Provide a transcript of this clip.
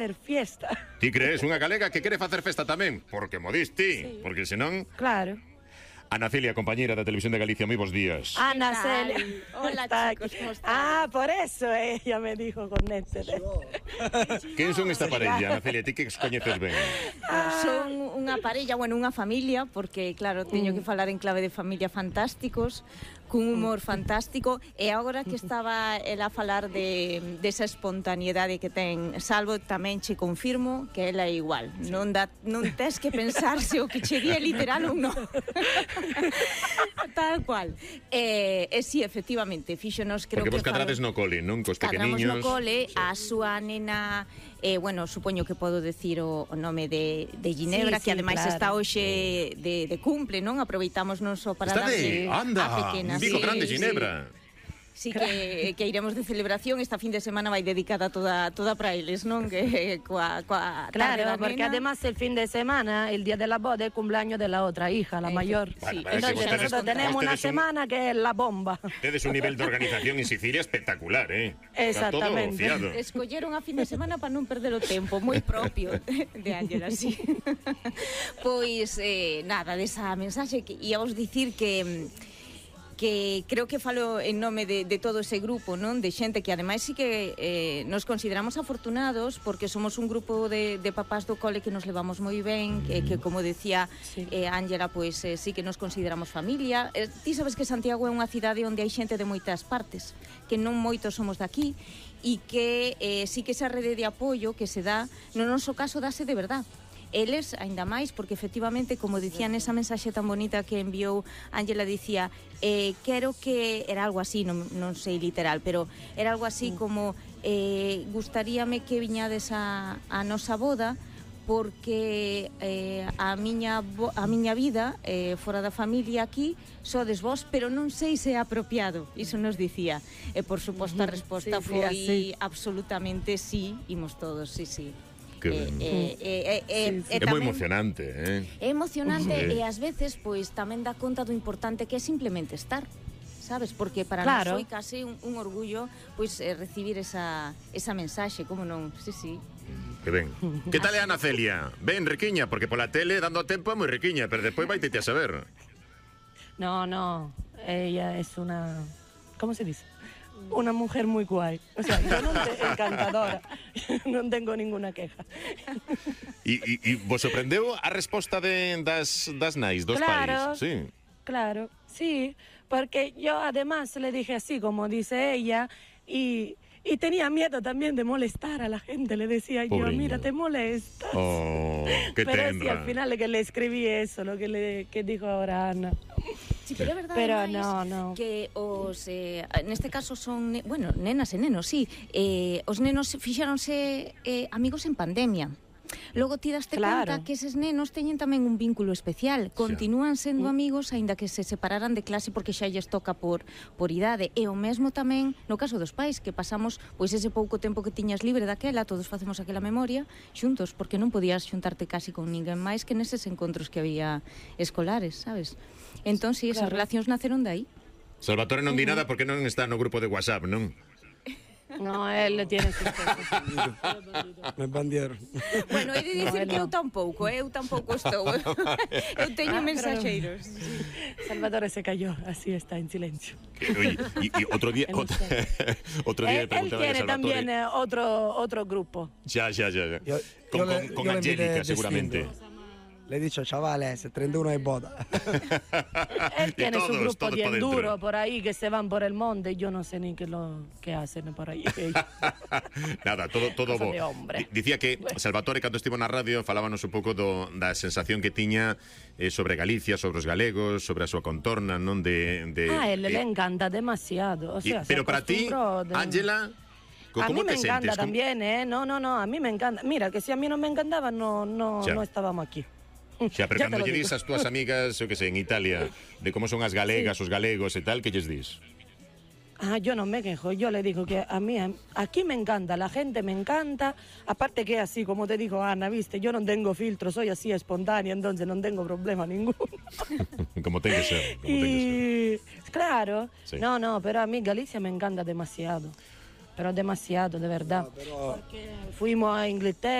hacer fiesta. Ti crees unha galega que quere facer festa tamén? Porque mo dis ti, Sí. porque senón... Claro. Ana Celia, compañera da Televisión de Galicia, moi bons días. Ana ¿Qué tal? Celia. Hola, Está chicos, aquí. ¿cómo están? Ah, por eso ella me dijo conéctete. Quen son esta parella, Ana Celia? Ti que os coñeces ben? Son unha parella, bueno, unha familia, porque claro, teño que falar en clave de familia fantásticos, cun humor fantástico, e agora que estaba ela a falar desa espontaneidade que ten Salvo, tamén che confirmo que ela é igual. Non tes que pensar se o que che di é literal ou non. Tal cual. E si, efectivamente, fíxonos, creo Porque que vos cadrades no cole, non? Cos pequeniños. Cadramos no cole, a súa nena, bueno, supoño que podo decir o nome de Ginebra, Sí, que ademais claro. está hoxe de cumple, non? Aproveitamos non só para Está de... darlle a Anda, pequena. un Vigo Sí, grande, sí. Ginebra. Sí que iremos de celebración. Esta fin de semana vai dedicada toda para eles, non? Que coa tarde Claro, da porque nena. además el fin de semana, el día de la boda, es cumpleaños de la otra hija, la mayor. Sí. Bueno, Entonces ustedes- nosotros tenemos una ustedes semana que es la bomba. Tedes un nivel de organización en Sicilia espectacular, Está todo Exactamente. fiado. Escolleron a fin de semana para non perder o tempo, moi propio de Ángela, sí. Pois, nada, desa mensaxe que íamos dicir que creo que falo en nome de todo ese grupo, non? De xente que ademais sí que nos consideramos afortunados porque somos un grupo de papás do cole que nos levamos moi ben, que como decía Sí. Ángela, pois sí que nos consideramos familia. Ti sabes que Santiago é unha cidade onde hai xente de moitas partes, que non moitos somos daqui, e que sí que esa rede de apoio que se dá, no noso caso dase de verdad. Eles, aínda máis, porque efectivamente, como dicía nesa mensaxe tan bonita que enviou Ángela, dicía, quero que, era algo así, non sei literal, pero era algo así como, gustaríame que viñades a nosa boda, porque a miña vida fora da familia aquí sodes vos, pero non sei se é apropiado. Iso nos dicía. E por suposto a resposta Sí, foi así. absolutamente sí, imos todos, sí. Que ben. É moi emocionante, É emocionante Sí. e ás veces pois tamén dá conta do importante que é simplemente estar, sabes? Porque para Claro. nós foi case un orgullo pois recibir esa mensaxe, como non? Sí. Que ben. Que tal é Ana Celia? Ben, riquiña, porque pola tele, dando tempo, é moi riquiña, pero despois vai te a saber. No, ella es una, ¿cómo se dice? Una mujer muy guay. O sea, yo no encantadora. Non tengo ninguna queja. E vos sorprendeu a resposta das nais, dos Claro. pais? Sí. Claro, sí, porque yo además le dije así, como dice ella, y tenía miedo también de molestar a la gente. Le decía Pobre yo, mira, niña. te molestas. Oh, que Pero sí, tenra. al final que le escribí eso, lo que dijo ahora Ana. Sí, pero é verdade, Pero ademais, no. que os neste caso son, bueno, nenas e nenos, sí, os nenos fixéronse amigos en pandemia. Logo ti daste Claro. conta que eses nenos teñen tamén un vínculo especial, continúan sendo amigos aínda que se separaran de clase porque xa lles toca por idade, e o mesmo tamén no caso dos pais, que pasamos pois ese pouco tempo que tiñas libre daquela, todos facemos aquela memoria xuntos, porque non podías xuntarte casi con ninguén máis que neses encontros que había escolares, sabes? Entón, si, esas Claro. relacións naceron de aí. Salvatore non di nada porque non está no grupo de WhatsApp, non? No, él le tiene sus cosas. Me bandieron. Bueno, he de dicir No, que no. eu tampouco estou. Eu teño mensacheiros. Salvatore se cayó, así está, en silencio. Oye, y otro día otro día le Él preguntaba a tiene Salvatore. también otro grupo. Ya. Yo Con le Angélica, invité seguramente. distinto. Le he dicho, chavales, el 31 es boda. Él tiene su todos grupo pa' de dentro. enduro por ahí que se van por el monte. Yo no sé ni qué hacen por ahí. Nada, todo Cosa bo. de hombre. Dicía que Salvatore, cando estivo na radio, falábanos un pouco da sensación que tiña sobre Galicia, sobre os galegos, sobre a súa contorna, non de A él le encanta demasiado. O sea, se pero para ti, acostumbró de- Ángela, A ¿cómo mí me te encanta sientes? ¿Cómo- también, ¿eh? No, a mí me encanta. Mira, que si a mí no me encantaba, no Ya. estábamos aquí. Xa, pero Ya cando te lo lle digo. dis as túas amigas, eu que sei, en Italia, de como son as galegas, os galegos e tal, que lles dis? Yo no me quejo, yo le digo que a mí aquí me encanta, la gente me encanta, aparte que así, como te dijo Ana, viste, yo no tengo filtro, soy así espontánea, entonces no tengo problema ninguno. Como ten que ser. Como ten que ser. Y claro, Sí. no, pero a mí Galicia me encanta demasiado. pero demasiado, de verdad. No, pero- Porque fuimos a Inglaterra.